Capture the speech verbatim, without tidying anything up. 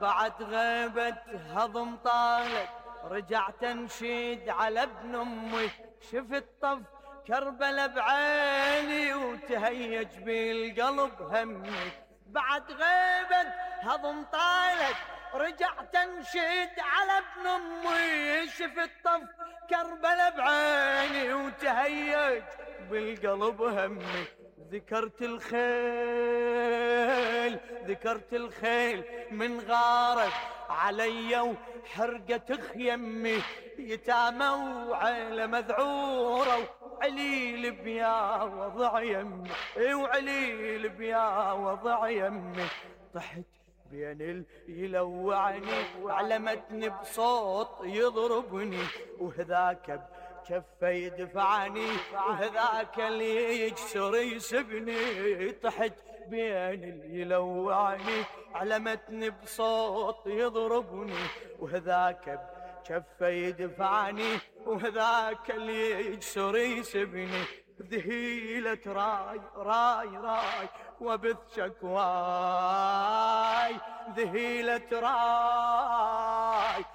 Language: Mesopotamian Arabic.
بعد غيبة هضم طالت رجعت انشد على ابن امي، شفت طف كربلا بعيني وتهيج بالقلب همي. بعد غيبة هضم طالت رجعت انشد على ابن امي، شفت طف كربلا بعيني وتهيج بالقلب همي. ذكرت الخيل ذكرت الخيل من غارت علي وحرقت خيمي، يتامى وعيلة مذعورة وعليل بيا وضع يمي، وعليل بيا وضع يمي. طحت بين اللي يلوعني علمتني بصوت يضربني، وهذاك بجفه يدفعني وهذاك اللي يجسر يسبني. طحت بين اللي يلوعني علمتني بصوت يضربني، وهذاك بجفه يدفعني وهذاك اللي يجسر يسبني. ذهيلة راي راي راي وبث شكواي، ذهيلة راي